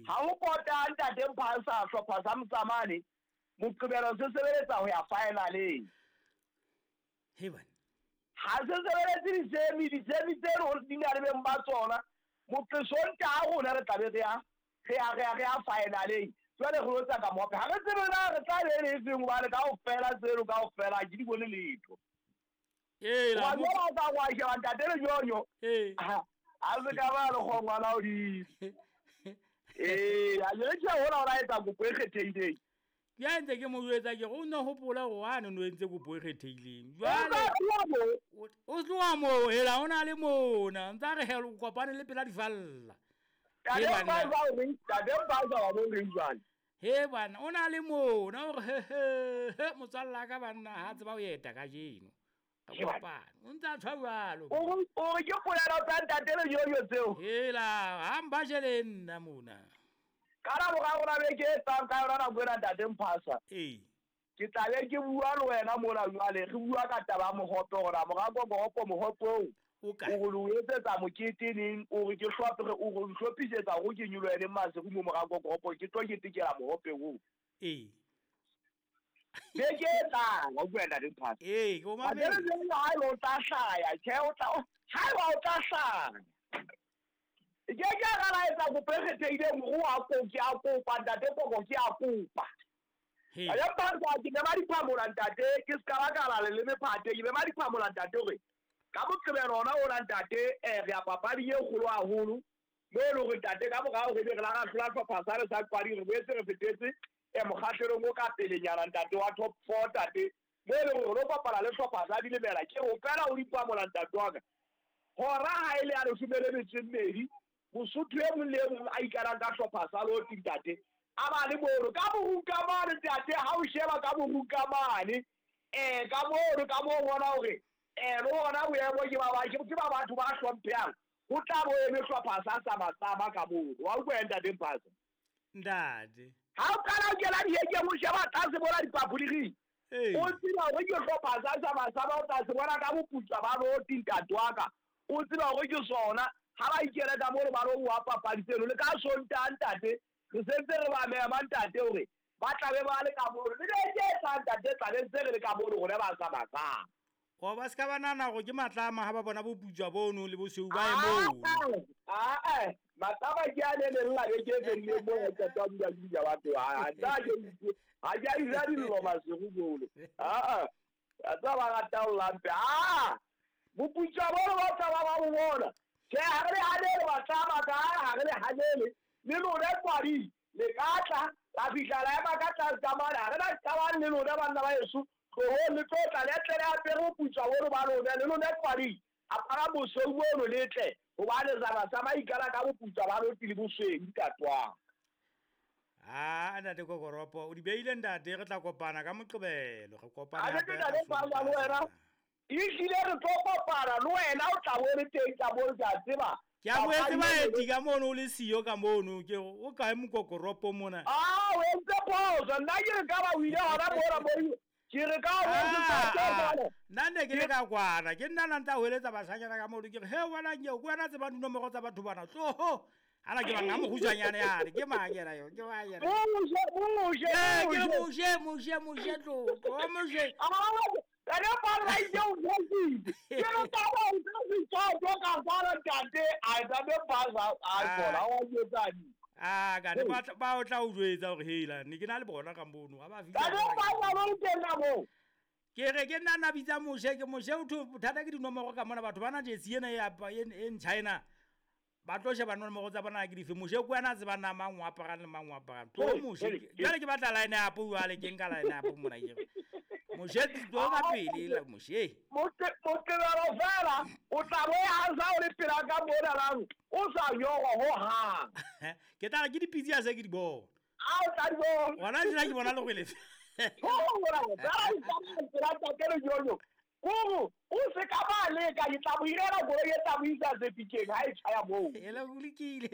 Ha ho pota ntate Mphasa hlopha sa Motsamane Moqebelo se sebeletsa ho ya finaleng. He bana. Ha se sebeletse disemi, disemi tseno di na le beng ba tsona. Moqe Sontaha rona re tla be re ya re ya re ya re ya finaleng. Jwale re lo tsaka mope. Ha re tsebe na re tla be le efeng hobane kaofela tseno kaofela ha ke di bone letho. Ee, la mo- Wa jwale o ka wa sheba ntate Lenyonyo. Ee. Ha se ka ba le kgongwana hodimo. Ee, a jele tjhe hona o la etsa kopo e kgethehileng. Ke a ntse ke mo jwetsa ke re o nno hopola gore wane no entse kopo e kgethehileng. O Jwale ka tloha moo. o tloha moo hela o na le mona ntse a re hela o kopane le pela difalla. Tate He banna. Mphasa o reng? Tate Mphasa wa bo reng jwale? He bana o na le mona o re he he he motswalla ka banna ha tseba ho eta kajeno. Re He bana. kopane o ntse a tshwa jwalo. O re ke polelo tsa ntate Lenyonyo tseo. Hela ha mba le nna mona. Ka la boraro la beke e tlang ka yona nako ena ntate Mphasa. Ee. Ke tla be ke bua le wena mona jwale re bua ka taba ya mohope hore mora kokoropo mohope oo O kae? o re le o etsetsa mokete neng o re ke hlophe o re hlophisetsa hore ke nyolohe neng Maseru mo mora kokoropo ke tlo ketekela mohope oo. Ee. Beke e tlang wa utlwa ntate Mphasa. Ee, ke o Akere mametse. jwale ha ebe o tla hlaya tjhe o tla haeba o tla hlaya. Ke ke ra la etsa kopo e kgethehileng hore wa ke a kopa ntate Koko ke a kopa. He. Ya Mphasa ke ne ba diphamola ntate ke ska ba ka la le mephate ke ne ba diphamola ntate hore ka Moqebelo ona ona ntate re ya papading e kgolo haholo mo e leng hore ntate ka morao re be re la ra hlola hlopha sa re sa Qwading re boetse re fetetse mokgahlelong o ka pelenyana ntate wa top 4 ntate mo e leng hore re lo kopana le hlopha sa Dilemela ke re o fela o diphamola ntate wa ka hora ha e le ya 12 Mosotho e mong le e mong a ikanang ka hlopha sa loti ntate a ba le mono ka morung ka mane ntate ha o sheba ka morung ka mane ka mono ka moo bona hore le hona boemo ke ba ke ba batho ba hlomphehang ho tla bo eme hlopha sa Samatsama ka mono wa utlwa ntate Mphasa. Ntate. Ha o qala o kena dihekeng o sheba tlase mona dipapoliring Ee. o tseba hore ke hlopha sa Samatsama o tla se bona ka boputswa ba loti ntate wa ka o tseba hore ke sona ha ba ikele ka mono ba lo boha papadi tseno le ka Sontaha ntate re sentse re ba mema ntate hore ba tlabe ba le ka mono le beke e tlang ntate tlabe ntse re le ka mono rona ba Samatsama. O ba ska ba nahana hore ke matlama ha ba bona boputswa bono le bosweu ba e mono. Ah, matlama ke a le leng la beke e fedileng moo ha ntate wa dula ke dija batho. Ha nta ke itse, ha ke a ira dillo masigo mono. Ah, a tseba ba rata ho lampe. Ah, boputswa bono ba tla ba ba bo bona. Tjhe, ha re le hanele matlama ka ha re le hanele le lona Qwading le ka tla la fihla la ema ka tlase ka mane ha re na qabang le lona banna ba heso tlohong le tlo tla le tle le apere boputswa bono ba lona le lona Qwading apara bosweu bono le tle hobane Samatsama ikana ka boputswa ba loti le bosweu ntate wa ka. Ah, ntate Kokoropo o di beile ntate re tla kopana ka Moqebelo re kopane A hape ke ka ntate Mphasa le wena Sontaha. ehlile re tlo kopana le wena o tla bo le teng ka mono ke a tseba. Ke a boetse Papadi eno baeti ka mono o le siyo ka mono ke re o kae mokokoropo mona? Ah, o entse phoso nna ke re ka ba o ile hona mona mo ke re ka o entse phoso. Nna ne ke le ka kwana ke nna na ntsa hweletsa bashanyana ka mono ke re he wena nyeo ke wena tsebang dinomoro tsa batho bana tloho ana ke bang a mokgutshwanyane yane ke mang yena yo ke mang yena Moshe Moshe Eh, ke Moshe Moshe Moshe Moshe tlo tlo Moshe. Ah, ene ba ra itse o phositse. Ke re ka ba o ntse setsotso ka kwana ntate a ntate Mphasa a bona wa jetsani. Ah, ka ba ba o tla o jwetsa hore hela ne ke na le bona ka mono ha ba fihla. Ntate Mphasa lo teng ka moo. Ke re ke nna na bitsa Moshe ke Moshe o thwe bothata ke dinomoro ka mona batho bana jersey ena e apa e ntjha ena ba tlo sheba nomoro tsa bona ke dife Moshe ke wena a tsebang na mang o aparang le mang o aparang tlo Moshe jwale ke batla line up jwale ke nka line up mona ke re Moshe tlo ka pele la Moshe. Moqebelo fela o tla bo ya sa o le pela ka mona lang o sa nyorwa ho hang. Ke tla re ke dipitsi ha se ke di bona. A o tla di bona. Hona jwale ke bona le hore lefe. Ho ra fela o tsamaya pela ntate Lenyonyo. Kuru o se ka ba leka ke tla mo irela koloi e tla mo isa sepikeng ha e tjhaya moo. Ele o lokile.